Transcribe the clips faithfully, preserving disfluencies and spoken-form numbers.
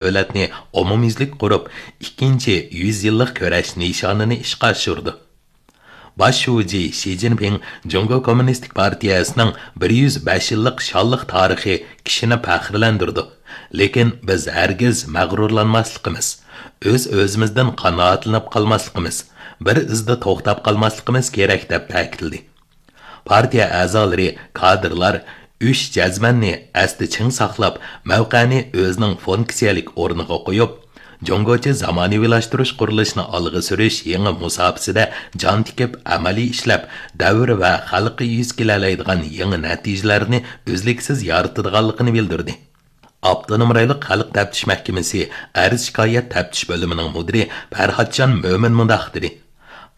دۆلەتنى ئومۇميۈزلۈك قۇرۇپ، ئىككىنچى يۈز يىللىق كۈرەش نىشانىنى ئىشقا ئاشۇرىدۇ. باش شۇجى شى جىنپىڭ جۇڭگو كوممۇنىستىك پارتىيەسىنىڭ بىر يۈز بەش يىللىق شانلىق تارىخى كىشىنى پەخىرلەندۈرىدۇ. لېكىن بىز ھەرگىز مەغرۇرلانماسلىقىمىز، ئۆز-ئۆزىمىزدىن قانائەتلىنىپ قالماسلىقىمىز، بىر ئىزدا توختاپ قالماسلىقىمىز كېرەك، دەپ تەكىتلىدى. پارتىيە ئەزالىرى، كادىرلار ئۈچ جەزمەننى ئەستە چىڭ ساقلاپ، مەۋقەنى ئۆزىنىڭ فۇنكسىيەلىك ئورنىغا قويۇپ، جۇڭگوچە زامانىۋىلاشتۇرۇش قۇرۇلۇشىنى ئالغا سۈرۈش يېڭى مۇساپىسىدە جان تىكىپ، ئەمەلىي ئىشلەپ، دەۋر ۋە خەلققە يۈز كېلەلەيدىغان يېڭى نەتىجىلەرنى ئۈزلۈكسىز يارىتىدىغانلىقىنى بىلدۈردى. ئاپتونوم رايونلۇق خەلق تەپتىش مەھكىمىسى ئەرز-شىكايەت تەپتىش بۆلۈمىنىڭ مۇدىرى پەرھاتجان مۆمىن مۇنداق دېدى: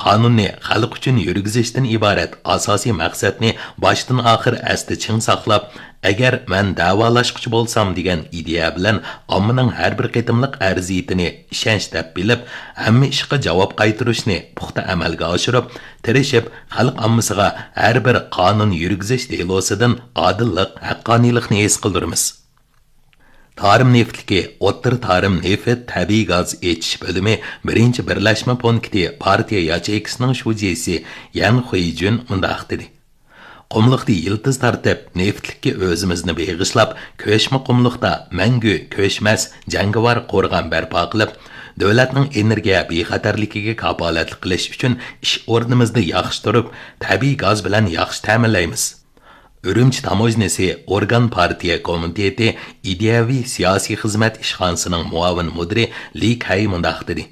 قانۇننى خەلق ئۈچۈن يۈرگۈزۈشتىن ئىبارەت ئاساسىي مەقسەتنى باشتىن ئاخىر ئەستە چىڭ ساقلاپ، ئەگەر مەن دەۋالاشقۇچى بولسام دېگەن ئىدىيە بىلەن ئاممىنىڭ ھەر بىر قېتىملىق ئەرزىيىتىنى ئىشەنچ دەپ بىلىپ، ھەممە ئىشقا جاۋاب قايتۇرۇشنى پۇختا ئەمەلگە ئاشۇرۇپ، تىرىشىپ، خەلق ئاممىسىغا ھەر بىر قانۇن يۈرگۈزۈش دېلوسىدىن ئادىللىق، ھەققانىيلىقنى ھېس قىلدۇرىمىز. تارىم نېفىتلىكى ئوتتۇرا تارىم نېفىت تەبىئىي گاز ئېچىش بۆلۈمى بىرىنچى بىرلەشمە پونكىتى پارتىيە ياچېيكىسىنىڭ شۇجىسى يەن خۇيجۈن مۇنداق دېدى: قۇملۇقتا يىلتىز تارتىپ، نېفىتلىككە ئۆزىمىزنى بېغىشلاپ، كۆچمە قۇملۇقتا مەڭگۈ كۆچمەس جەڭگىۋار قورغان بەرپا قىلىپ، دۆلەتنىڭ ئېنېرگىيە بىخەتەرلىكىگە كاپالەتلىك قىلىش ئۈچۈن ئىش ئورنىمىزدا ياخشى تۇرۇپ، تەبىئىي گاز بىلەن ياخشى تەمىنلەيمىز. ئۈرۈمچى تاموژنىسى ئورگان پارتىيە كومىتېتى ئىدىيەۋى سىياسىي خىزمەت ئىشخانىسىنىڭ مۇئاۋىن مۇدىرى لى كەي مۇنداق دېدى: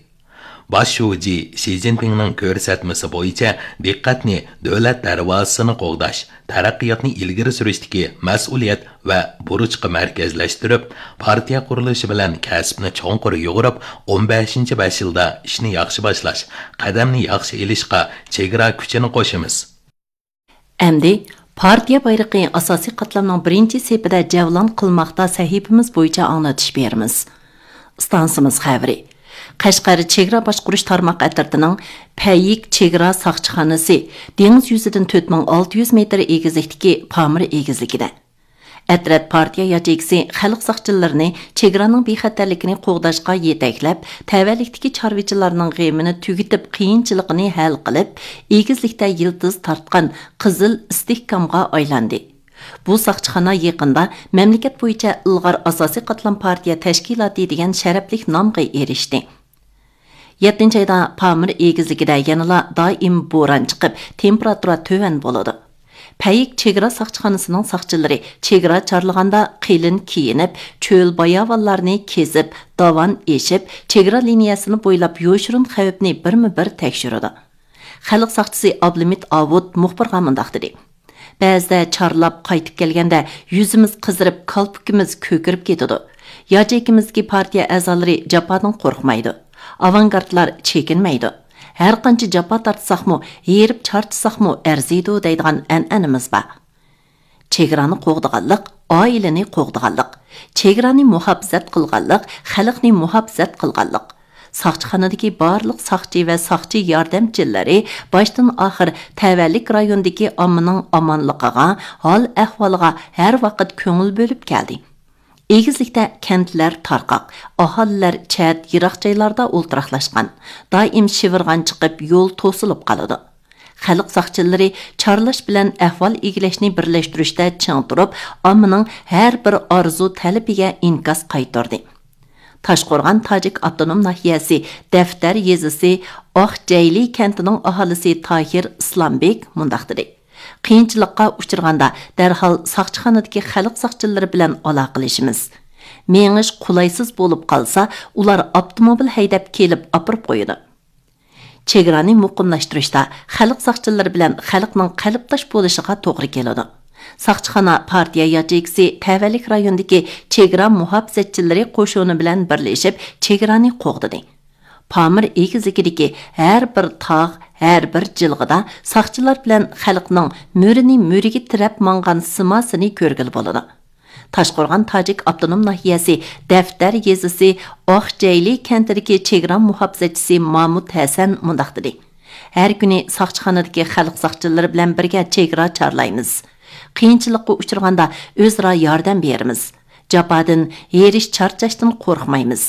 باش شۇجى شى جىنپىڭنىڭ كۆرسەتمىسى بويىچە دىققەتنى دۆلەت دەرۋازىسىنى قوغداش، تەرەققىياتنى ئىلگىرى سۈرۈشتىكى مەسئۇلىيەت ۋە بۇرچقا مەركەزلەشتۈرۈپ، پارتىيە قۇرۇلۇشى بىلەن كەسىپنى چوڭقۇر يۇغۇرۇپ، ئون بەشىنچى بەش يىلدا ئىشنى ياخشى باشلاش، قەدەمنى ياخشى ئېلىشقا چېگرا كۈچىنى قوشىمىز. ئەمدى پارتىيە بايرىقى ئاساسىي قاتلامنىڭ بىرىنچى سېپىدە جەۋلان قىلماقتا سەھىپىمىز بويىچە ئاڭلىتىش بېرىمىز. ئىستانسىمىز خەۋىرى. قەشقەر چېگرا باشقۇرۇش تارماق ئەترىتىنىڭ پەييىك چېگرا ساقچىخانىسى دېڭىز يۈزىدىن تۆت مىڭ ئالتە يۈز مېتىر ئېگىزلىكتىكى پامىر ئېگىزلىكىدە. ئەترەت پارتىيە ياچېيكىسى خەلق ساقچىلىرىنى چېگرانىڭ بىخەتەرلىكىنى قوغداشقا يېتەكلەپ، تەۋەلىكتىكى چارۋىچىلارنىڭ غېمىنى تۈگىتىپ، قىيىنچىلىقىنى ھەل قىلىپ، ئېگىزلىكتە يىلتىز تارتقان قىزىل ئىستىھكامغا ئايلاندى. بۇ ساقچىخانا يېقىندا مەملىكەت بويىچە ئىلغار ئاساسىي قاتلام پارتىيە تەشكىلاتى دېگەن شەرەپلىك نامغا ئېرىشتى. يەتتىنچى ئايدا پامىر ئېگىزلىكىدە يەنىلا دائىم بوران چىقىپ، تېمپېراتۇرا تۆۋەن بولىدۇ. پەييىك چېگرا ساقچىخانىسىنىڭ ساقچىلىرى چېگرا چارلىغاندا قېلىن كىيىنىپ، چۆل باياۋانلارنى كېزىپ، داۋان ئېشىپ، چېگرا لىنىيەسىنى بويلاپ يوشۇرۇن خەۋپنى بىرمۇ بىر تەكشۈرىدۇ. خەلق ساقچىسى ئابلىمىت ئاۋۇت مۇخبىرغا مۇنداق دېدى: بەزىدە چارلاپ قايتىپ كەلگەندە يۈزىمىز قىزىرىپ، كالپۇكىمىز كۆكىرىپ كېتىدۇ. ياچېيكىمىزدىكى پارتىيە ئەزالىرى جاپادىن قورقمايدۇ. ئاۋانگارتلار چېكىنمەيدۇ. ھەر قانچە جاپا تارتساقمۇ، ھېرىپ چارچىساقمۇ ئەرزىيدۇ دەيدىغان ئەنئەنىمىز بار. چېگرانى قوغدىغانلىق، ئائىلىنى قوغدىغانلىق. چېگرانى مۇھاپىزەت قىلغانلىق، خەلقنى مۇھاپىزەت قىلغانلىق. ساقچىخانىدىكى بارلىق ساقچى ۋە ساقچى ياردەمچىلىرى باشتىن ئاخىر تەۋەلىك رايونىدىكى ئاممىنىڭ ئامانلىقىغا، ھال ئەھۋالىغا ھەر ۋاقىت كۆڭۈل بۆلۈپ كەلدى. ئېگىزلىكتە كەنتلەر تارقاق، ئاھالىلەر چەت، يىراق جايلاردا ئولتۇراقلاشقان، دائىم شىۋىرغان چىقىپ، يول توسۇلۇپ قالىدۇ. خەلق ساقچىلىرى چارلاش بىلەن ئەھۋال ئىگىلەشنى بىرلەشتۈرۈشتە چىڭ تۇرۇپ، ئاممىنىڭ ھەر بىر ئارزۇ تەلىپىگە ئىنكاس قايتۇردى. تاشقورغان تاجىك ئاپتونوم ناھىيەسى دەفتەر يېزىسى ئاقجەيلى كەنتىنىڭ ئاھالىسى تاھىر ئىسلامبېك مۇنداق دېدى: قىيىنچىلىققا ئۇچرىغاندا دەرھال ساقچىخانىدىكى خەلق ساقچىلىرى بىلەن ئالاقىلىشىمىز. مېڭىش قولايسىز بولۇپ قالسا، ئۇلار ئاپتوموبىل ھەيدەپ كېلىپ ئاپىرىپ قويىدۇ. چېگرانى مۇقىملاشتۇرۇشتا خەلق ساقچىلىرى بىلەن خەلقنىڭ قەلبداش بولۇشىغا توغرا كېلىدۇ. ساقچىخانا پارتىيە ياچېيكىسى تەۋەلىك رايونىدىكى چېگرا مۇھاپىزەتچىلىرى قوشۇنى بىلەن بىرلىشىپ چېگرانى قوغدىدى. پامىر ئېگىزلىكىدىكى ھەر بىر تاغ، ھەر بىر جىلغىدا ساقچىلار بىلەن خەلقنىڭ مۈرىنى مۈرىگە تىرەپ ماڭغان سىماسىنى كۆرگىلى بولىدۇ. تاشقورغان تاجىك ئاپتونوم ناھىيەسى دەفتەر يېزىسى ئاقجەيلى كەنتىدىكى چېگرا مۇھاپىزەتچىسى مامۇت ھەسەن مۇنداق دېدى: ھەر كۈنى ساقچىخانىدىكى خەلق ساقچىلىرى بىلەن بىرگە چېگرا چارلايمىز. قىيىنچىلىققا ئۇچرىغاندا ئۆزئارا ياردەم بېرىمىز. جاپادىن، ھېرىش-چارچاشتىن قورقمايمىز.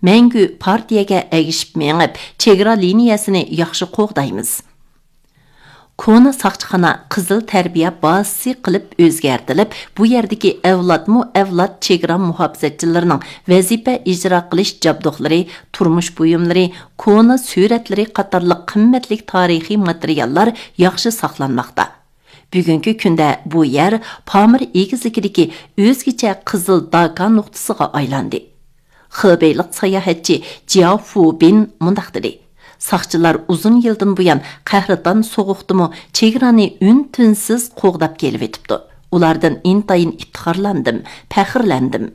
مەڭگۈ پارتىيەگە ئەگىشىپ مېڭىپ، چېگرا لىنىيەسىنى ياخشى قوغدايمىز. كونا ساقچىخانا قىزىل تەربىيە بازىسى قىلىپ ئۆزگەرتىلىپ، بۇ يەردىكى ئەۋلادمۇ ئەۋلاد چېگرا مۇھاپىزەتچىلىرىنىڭ ۋەزىپە ئىجرا قىلىش جابدۇقلىرى، تۇرمۇش بۇيۇملىرى، كونا سۈرەتلىرى قاتارلىق قىممەتلىك تارىخىي ماتېرىياللار ياخشى ساقلانماقتا. بۈگۈنكى كۈندە بۇ يەر پامىر ئېگىزلىكىدىكى ئۆزگىچە قىزىل داكا نۇقتىسىغا ئايلاندى. خېبېيلىق ساياھەتچى جياۋ فۇبىن مۇنداق دېدى: ساقچىلار ئۇزۇن يىلدىن بۇيان قەھرىتان سوغۇقتىمۇ چېگرانى ئۈن-تىنسىز قوغداپ كېلىۋېتىپتۇ. ئۇلاردىن ئىنتايىن ئىپتىخارلاندىم، پەخىرلەندىم.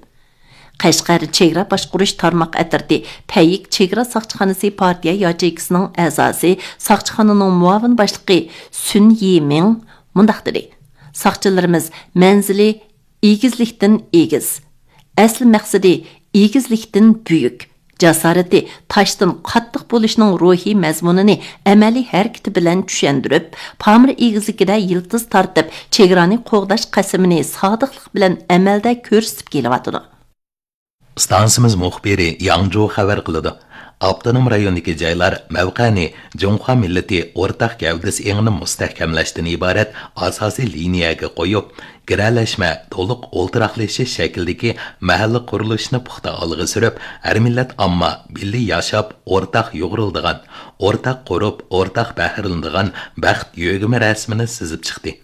قەشقەر چېگرا باشقۇرۇش تارماق ئەترىتى پەييىك چېگرا ساقچىخانىسى پارتىيە ياچېيكىسىنىڭ ئەزاسى، ساقچىخانىنىڭ مۇئاۋىن باشلىقى سۈن يىمىڭ مۇنداق دېدى: ساقچىلىرىمىز مەنزىلى ئېگىزلىكتىن ئېگىز، ئەسلى مەقسىتى ئېگىزلىكتىن بۈيۈك، جاسارىتى تاشتىن قاتتىق بولۇشنىڭ روھىي مەزمۇنىنى ئەمەلىي ھەرىكىتى بىلەن چۈشەندۈرۈپ، پامىر ئېگىزلىكىدە يىلتىز تارتىپ، چېگرانى قوغداش قەسىمىنى سادىقلىق بىلەن ئەمەلدە كۆرسىتىپ كېلىۋاتىدۇ. ئىستانسىمىز مۇخبىرى ياڭجۇ خەۋەر قىلىدۇ. ئاپتونوم رايوندىكى جايلار مەۋقەنى جۇڭخۇا مىللىتى ئورتاق گەۋدىسى ئېڭىنى مۇستەھكەملەشتىن ئىبارەت ئاساسىي لىنىيەگە قويۇپ، گىرەلەشمە تولۇق ئولتۇراقلىشىش شەكلىدىكى مەھەللە قۇرۇلۇشىنى پۇختا ئالغا سۈرۈپ، ھەر مىللەت ئامما بىللە ياشاپ، ئورتاق يۇغۇرۇلىدىغان، ئورتاق قۇرۇپ، ئورتاق بەھرىلىنىدىغان بەخت يۆگىمە رەسىمىنى سىزىپ چىقتى.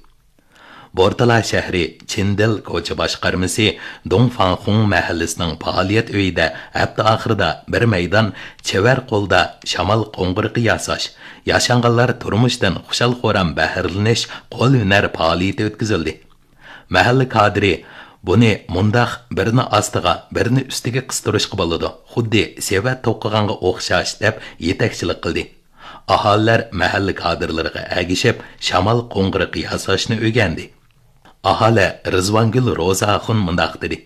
بورتالا شەھىرى چىندىل كوچا باشقارمىسى دۇڭفاڭخۇڭ مەھەللىسىنىڭ پائالىيەت ئۆيىدە ھەپتە ئاخىرىدا بىر مەيدان چېۋەر قولدا شامال قوڭغۇرىقى ياساش، ياشانغانلار تۇرمۇشتىن خۇشال-خۇرام بەھرىلىنىش قول ھۈنەر پائالىيىتى ئۆتكۈزۈلدى. مەھەللە كادىرى بۇنى مۇنداق بىرنى ئاستىغا، بىرنى ئۈستىگە قىستۇرۇشقا بولىدۇ، خۇددى سېۋەت توقۇغانغا ئوخشاش، دەپ يېتەكچىلىك قىلدى. ئاھالىلەر مەھەللە كادىرلىرىغا ئەگىشىپ، شامال قوڭغۇرىقى ياساشنى ئۆگەندى. ئاھالە رىزۋانگۈل روزا ئاخۇن مۇنداق دېدى: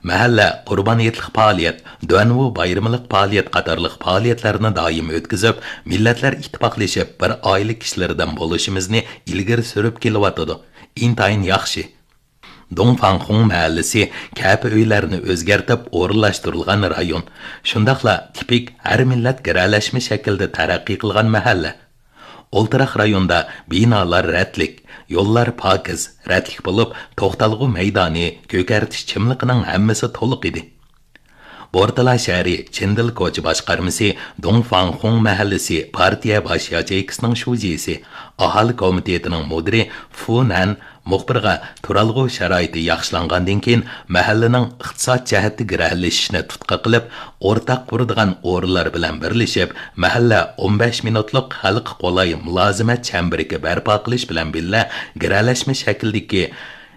مەھەللە قۇربان ھېيتلىق پائالىيەت، دۇەنۋۇ بايرىمىلىق پائالىيەت قاتارلىق پائالىيەتلەرنى دائىم ئۆتكۈزۈپ، مىللەتلەر ئىتتىپاقلىشىپ، بىر ئائىلە كىشىلىرىدىن بولۇشىمىزنى ئىلگىرى سۈرۈپ كېلىۋاتىدۇ. ئىنتايىن ياخشى. دۇڭفاڭخۇڭ مەھەللىسى كەپە ئۆيلەرنى ئۆزگەرتىپ ئورۇنلاشتۇرۇلغان رايون، شۇنداقلا تىپىك ھەر مىللەت گىرەلەشمە شەكلىدە تەرەققىي قىلغان مەھەللە. ئولتۇراق رايوندا بىنالار رەتلىك، يوللار پاكىز، رەتلىك بولۇپ، توختالغۇ مەيدانى، كۆكەرتىش چىملىقىنىڭ ھەممىسى تولۇق ئىدى. بورتالا شەھىرى چىندىل كوچا باشقارمىسى دۇڭفاڭخۇڭ مەھەللىسى پارتىيە باش ياچېيكىسىنىڭ شۇجىسى، ئاھالە كومىتېتىنىڭ مۇدىرى فۇ نەن مۇخبىرغا تۇرالغۇ شارائىتى ياخشىلانغاندىن كېيىن، مەھەللىنىڭ ئىقتىساد جەھەتتە گىرەلىشىشنى تۇتقا قىلىپ، ئورتاق قۇرىدىغان ئورۇنلار بىلەن بىرلىشىپ، مەھەللە ئون بەش مىنۇتلۇق خەلققە قولاي مۇلازىمەت چەمبىرىكى بەرپا قىلىش بىلەن بىللە، گىرەلەشمە شەكلىدىكى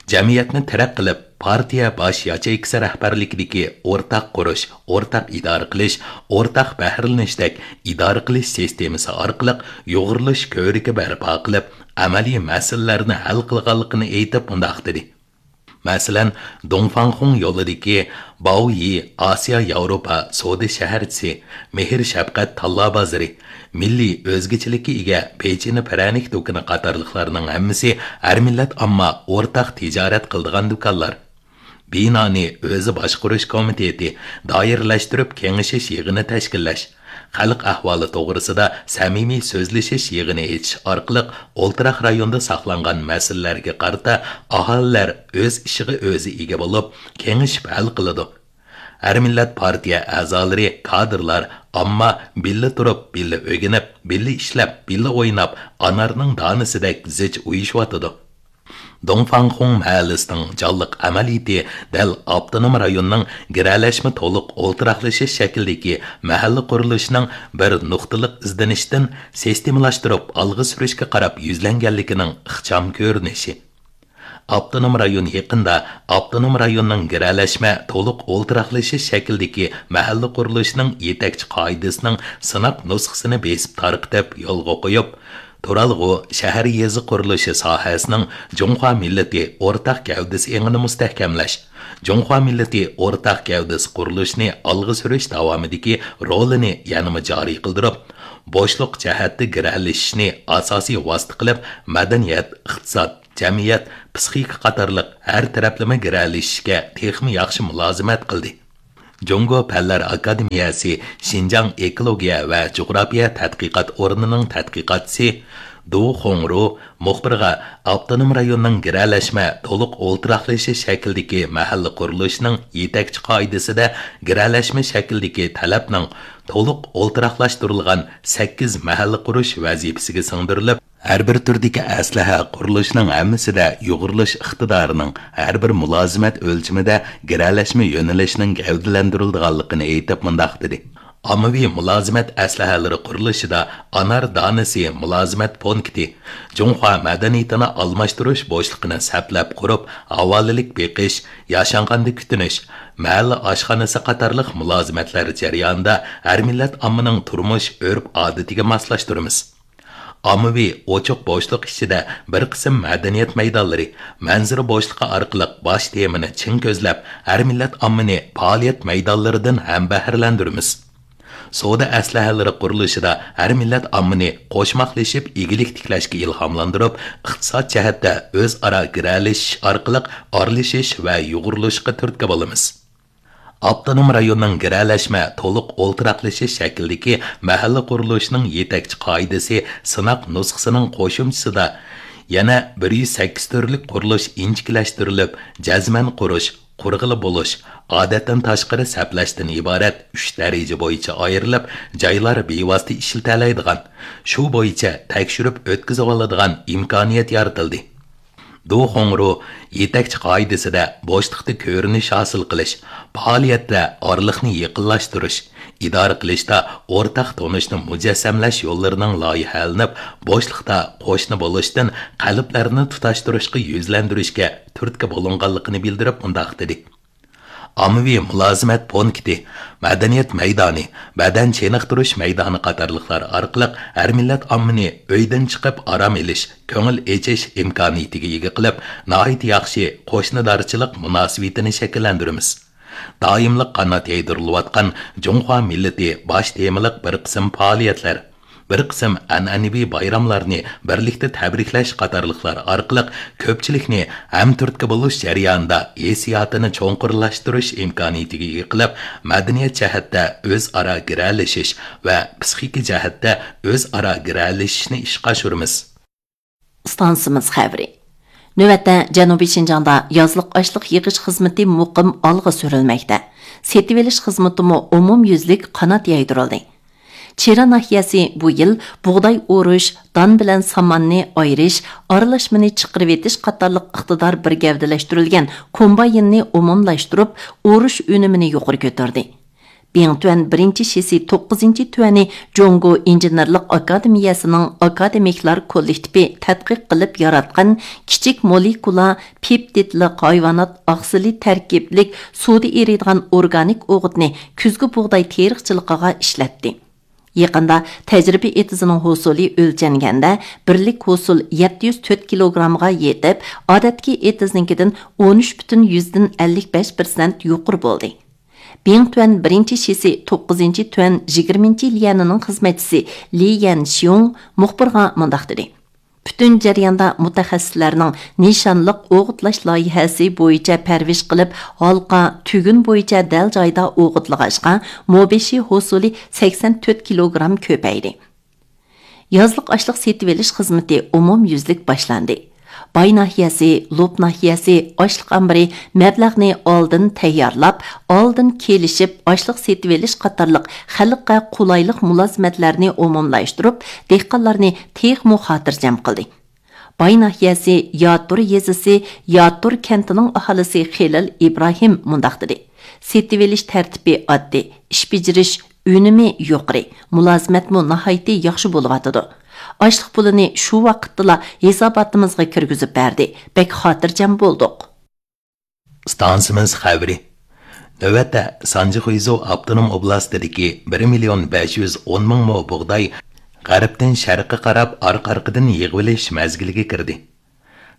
جەمئىيەتنى تىرەك قىلىپ، پارتىيە باش ياچېيكىسى رەھبەرلىكىدىكى ئورتاق قۇرۇش، ئورتاق ئىدارە قىلىش، ئورتاق بەھرىلىنىشتەك ئىدارە قىلىش سىستېمىسى ئارقىلىق يۇغۇرۇلۇش كۆۋرۈكى بەرپا قىلىپ، ئەمەلىي مەسىلىلەرنى ھەل قىلغانلىقىنى ئېيتىپ مۇنداق دېدى: مەسىلەن، دۇڭفاڭخۇڭ يولىدىكى باۋيى ئاسىيا ياۋروپا سودا شەھەرچىسى، مېھىر شەپقەت تاللا بازىرى، مىللىي ئۆزگىچىلىككە ئىگە پېچىنە پىرەنىك دۇكىنى قاتارلىقلارنىڭ ھەممىسى ھەر مىللەت ئامما ئورتاق تىجارەت قىلىدىغان دۇكانلار. بىنانى ئۆزى باشقۇرۇش كومىتېتى دائىرىلەشتۈرۈپ كېڭىشىش يىغىنى تەشكىللەش، خەلق ئەھۋالى توغرىسىدا سەمىمىي سۆزلىشىش يىغىنى ئېچىش ئارقىلىق ئولتۇراق رايوندا ساقلانغان مەسىلىلەرگە قارىتا ئاھالىلەر ئۆز ئىشىغا ئۆزى ئىگە بولۇپ، كېڭىشىپ ھەل قىلىدۇ. ھەر مىللەت پارتىيە ئەزالىرى، كادىرلار، ئامما بىللە تۇرۇپ، بىللە ئۆگىنىپ، بىللە ئىشلەپ، بىللە ئويناپ، ئانارنىڭ دانىسىدەك زىچ ئۇيۇشۇۋاتىدۇ. دۇڭفاڭخۇڭ مەھەللىسىنىڭ جانلىق ئەمەلىيىتى دەل ئاپتونوم رايوننىڭ گىرەلەشمە تولۇق ئولتۇراقلىشىش شەكلىدىكى مەھەللە قۇرۇلۇشىنىڭ بىر نۇقتىلىق ئىزدىنىشتىن سىستېمىلاشتۇرۇپ ئالغا سۈرۈشكە قاراپ يۈزلەنگەنلىكىنىڭ ئىخچام كۆرۈنۈشى. ئاپتونوم رايون يېقىندا ئاپتونوم رايوننىڭ گىرەلەشمە تولۇق ئولتۇراقلىشىش شەكلىدىكى مەھەللە قۇرۇلۇشىنىڭ يېتەكچى قائىدىسىنىڭ سىناق نۇسخىسىنى بېسىپ تارقىتىپ يولغا قويۇپ، تۇرالغۇ، شەھەر يېزا قۇرۇلۇشى ساھەسىنىڭ جۇڭخۇا مىللىتى ئورتاق گەۋدىسى ئېڭىنى مۇستەھكەملەش، جۇڭخۇا مىللىتى ئورتاق گەۋدىسى قۇرۇلۇشىنى ئالغا سۈرۈش داۋامىدىكى رولىنى يەنىمۇ جارى قىلدۇرۇپ، بوشلۇق جەھەتتە گىرەلىشىشنى ئاساسىي ۋاسىتە قىلىپ، مەدەنىيەت، ئىقتىساد، جەمئىيەت، پىسخىكا قاتارلىق ھەر تەرەپلىمە گىرەلىشىشكە تېخىمۇ ياخشى مۇلازىمەت قىلدى. جۇڭگو پەنلەر ئاكادېمىيەسى شىنجاڭ ئېكولوگىيە ۋە جۇغراپىيە تەتقىقات ئورنىنىڭ تەتقىقاتچىسى دۇ خۇڭرۇ مۇخبىرغا ئاپتونوم رايوننىڭ گىرەلەشمە تولۇق ئولتۇراقلىشىش شەكلىدىكى مەھەللە قۇرۇلۇشىنىڭ يېتەكچى قائىدىسىدە گىرەلەشمە شەكلىدىكى تەلەپنىڭ تولۇق ئولتۇراقلاشتۇرۇلغان سەككىز مەھەللە قۇرۇش ۋەزىپىسىگە سىڭدۈرۈلۈپ، ھەر بىر تۈردىكى ئەسلىھە قۇرۇلۇشىنىڭ ھەممىسىدە يۇغۇرۇلۇش ئىقتىدارىنىڭ ھەر بىر مۇلازىمەت ئۆلچىمىدە گىرەلەشمە يۆنىلىشىنىڭ گەۋدىلەندۈرۈلىدىغانلىقىنى ئېيتىپ مۇنداق دېدى: ئاممىۋى مۇلازىمەت ئەسلىھەلىرى قۇرۇلۇشىدا ئانار دانىسى مۇلازىمەت پونكىتى، جۇڭخۇا مەدەنىيىتىنى ئالماشتۇرۇش بوشلۇقىنى سەپلەپ قۇرۇپ، ھاۋالىلىك بېقىش، ياشانغاندا كۈتۈنۈش، مەھەللە ئاشخانىسى قاتارلىق مۇلازىمەتلەر جەريانىدا ھەر مىللەت ئاممىنىڭ تۇرمۇش ئۆرپ-ئادىتىگە ماسلاشتۇرىمىز. ئاممىۋى ئوچۇق بوشلۇق ئىچىدە بىر قىسىم مەدەنىيەت مەيدانلىرى، مەنزىرە بوشلۇقى ئارقىلىق باش تېمىنى چىڭ كۆزلەپ، ھەر مىللەت ئاممىنى پائالىيەت مەيدانلىرىدىن ھەمبەھىرلەندۈرىمىز. سودا ئەسلىھەلىرى قۇرۇلۇشىدا ھەر مىللەت ئاممىنى قوشماقلىشىپ ئىگىلىك تىكلەشكە ئىلھاملاندۇرۇپ، ئىقتىساد جەھەتتە ئۆزئارا گىرەلىشىش ئارقىلىق ئارىلىشىش ۋە يۇغۇرۇلۇشقا تۈرتكە بولىمىز. ئاپتونوم رايوننىڭ گىرەلەشمە تولۇق ئولتۇراقلىشىش شەكلىدىكى مەھەللە قۇرۇلۇشىنىڭ يېتەكچى قائىدىسى سىناق نۇسخىسىنىڭ قوشۇمچىسىدا يەنە بىر يۈز سەككىز تۈرلۈك قۇرۇلۇش ئىنچىكىلەشتۈرۈلۈپ، جەزمەن قۇرۇش، قۇرغىلى بولۇش، ئادەتتىن تاشقىرى سەپلەشتىن ئىبارەت ئۈچ دەرىجە بويىچە ئايرىلىپ، جايلار بىۋاسىتە ئىشلىتەلەيدىغان، شۇ بويىچە تەكشۈرۈپ ئۆتكۈزۈۋالىدىغان ئىمكانىيەت يارىتىلدى. دۇ خۇڭرۇ يېتەكچى قائىدىسىدە بوشلۇقتا كۆرۈنۈش ھاسىل قىلىش، پائالىيەتتە ئارىلىقنى يېقىنلاشتۇرۇش، ئىدارە قىلىشتا ئورتاق تونۇشنى مۇجەسسەملەش يوللىرىنىڭ لايىھەلىنىپ، بوشلۇقتا قوشنا بولۇشتىن قەلبلەرنى تۇتاشتۇرۇشقا يۈزلەندۈرۈشكە تۈرتكە بولۇنغانلىقىنى بىلدۈرۈپ مۇنداق دېدى: ئاممىۋى مۇلازىمەت پونكىتى، مەدەنىيەت مەيدانى، بەدەن چېنىقتۇرۇش مەيدانى قاتارلىقلار ئارقىلىق ھەر مىللەت ئاممىنى ئۆيدىن چىقىپ ئارام ئېلىش، كۆڭۈل ئېچىش ئىمكانىيىتىگە ئىگە قىلىپ، ناھايىتى ياخشى قوشنىدارچىلىق مۇناسىۋىتىنى شەكىللەندۈرىمىز. دائىملىق قانات يايدۇرۇلۇۋاتقان جۇڭخۇا مىللىتى باش تېمىلىق بىر قىسىم پائالىيەتلەر، بىر قىسىم ئەنئەنىۋى بايراملارنى بىرلىكتە تەبرىكلەش قاتارلىقلار ئارقىلىق كۆپچىلىكنى ھەمتۈرتكە بولۇش جەريانىدا ھېسسىياتىنى چوڭقۇرلاشتۇرۇش ئىمكانىيىتىگە ئىگە قىلىپ، مەدەنىيەت جەھەتتە ئۆزئارا گىرەلىشىش ۋە پسىخىكا جەھەتتە ئۆزئارا گىرەلىشىشنى ئىشقا ئاشۇرىمىز. ئىستانسىمىز خەۋىرى. نۆۋەتتە جەنۇبىي شىنجاڭدا يازلىق ئاشلىق يىغىش خىزمىتى مۇقىم ئالغا سۈرۈلمەكتە. سېتىۋېلىش خىزمىتىمۇ ئومۇميۈزلۈك قانات يايدۇرۇلدى. چىرا ناھىيەسى بۇ يىل بۇغداي ئورۇش، دان بىلەن ساماننى ئايرىش، ئارىلاشمىنى چىقىرىۋېتىش قاتارلىق ئىقتىدار بىر گەۋدىلەشتۈرۈلگەن كومبايننى ئومۇملاشتۇرۇپ، ئورۇش ئۈنۈمىنى يۇقىرى كۆتۈردى. بىڭتۈەن بىرىنچى شىسى توققۇزىنچى تۈەنى جۇڭگو ئىنژېنېرلىق ئاكادېمىيەسىنىڭ ئاكادېمىكلار كوللېكتىپى تەتقىق قىلىپ ياراتقان كىچىك مولېكۇلا پېپتىدلىق ھايۋانات ئاقسىلى تەركىبلىك سۇدا ئېرىيدىغان ئورگانىك ئوغۇتنى كۈزگۈ بۇغداي تېرىقچىلىقىغا ئىشلەتتى. يېقىندا تەجرىبە ئېتىزىنىڭ ھوسۇلى ئۆلچەنگەندە، بىرلىك ھوسۇل يەتتە يۈز تۆت كىلوگرامغا يېتىپ، ئادەتتىكى ئېتىزنىڭكىدىن ئون ئۈچ پۈتۈن يۈزدىن ئەللىك بەش پىرسەنت يۇقىرى بولدى. بىڭتۈەن بىرىنچى شىسى توققۇزىنچى تۈەن يىگىرمىنچى ليەنىنىڭ خىزمەتچىسى لى يەنشيۇڭ مۇخبىرغا مۇنداق دېدى: پۈتۈن جەرياندا مۇتەخەسسىسلەرنىڭ نىشانلىق ئوغۇتلاش لايىھەسى بويىچە پەرۋىش قىلىپ، ھالقا، تۈگۈن بويىچە دەل جايدا ئوغۇتلىغاچقا، مو بېشى ھوسۇلى سەكسەن تۆت كىلوگرام كۆپەيدى. يازلىق ئاشلىق سېتىۋېلىش خىزمىتى ئومۇميۈزلۈك باشلاندى. باي ناھىيەسى، لوپ ناھىيەسى ئاشلىق ئامبىرى مەبلەغنى ئالدىن تەييارلاپ، ئالدىن كېلىشىپ ئاشلىق سېتىۋېلىش قاتارلىق خەلققە قولايلىق مۇلازىمەتلەرنى ئومۇملاشتۇرۇپ، دېھقانلارنى تېخىمۇ خاتىرجەم قىلدى. باي ناھىيەسى ياتۇر يېزىسى ياتۇر كەنتىنىڭ ئاھالىسى خېلىل ئىبراھىم مۇنداق دېدى: سېتىۋېلىش تەرتىپى ئاددىي، ئىش بېجىرىش ئۈنۈمى يۇقىرى، مۇلازىمەتمۇ ناھايىتى ياخشى بولۇۋاتىدۇ. ئاشلىق پۇلىنى شۇ ۋاقىتتىلا ھېساباتىمىزغا كىرگۈزۈپ بەردى، بەك خاتىرجەم بولدۇق. ئىستانسىمىز خەۋىرى. نۆۋەتتە سانجى خۇيزۇ ئاپتونوم ئوبلاستىدىكى بىر مىليون بەش يۈز ئون مىڭ مو بۇغداي غەربتىن شەرققە قاراپ ئارقا-ئارقىدىن يىغىۋېلىش مەزگىلىگە كىردى.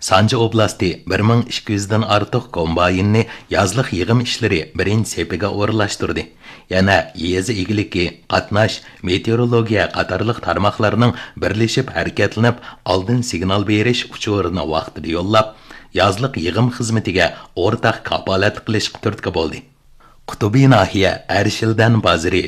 سانجى ئوبلاستى بىر مىڭ ئىككى يۈزدىن ئارتۇق كومبايننى يازلىق يىغىم ئىشلىرى بىرىنچى سېپىگە ئورۇنلاشتۇردى. يەنە يېزا ئىگىلىكى، قاتناش، مېتېئورولوگىيە قاتارلىق تارماقلارنىڭ بىرلىشىپ ھەرىكەتلىنىپ، ئالدىن سىگنال بېرىش ئۇچۇرىنى ۋاقتىدا يوللاپ، يازلىق يىغىم خىزمىتىگە ئورتاق كاپالەتلىك قىلىشقا تۈرتكە بولدى. قۇتۇبى ناھىيە ئەرشىلدەن بازىرى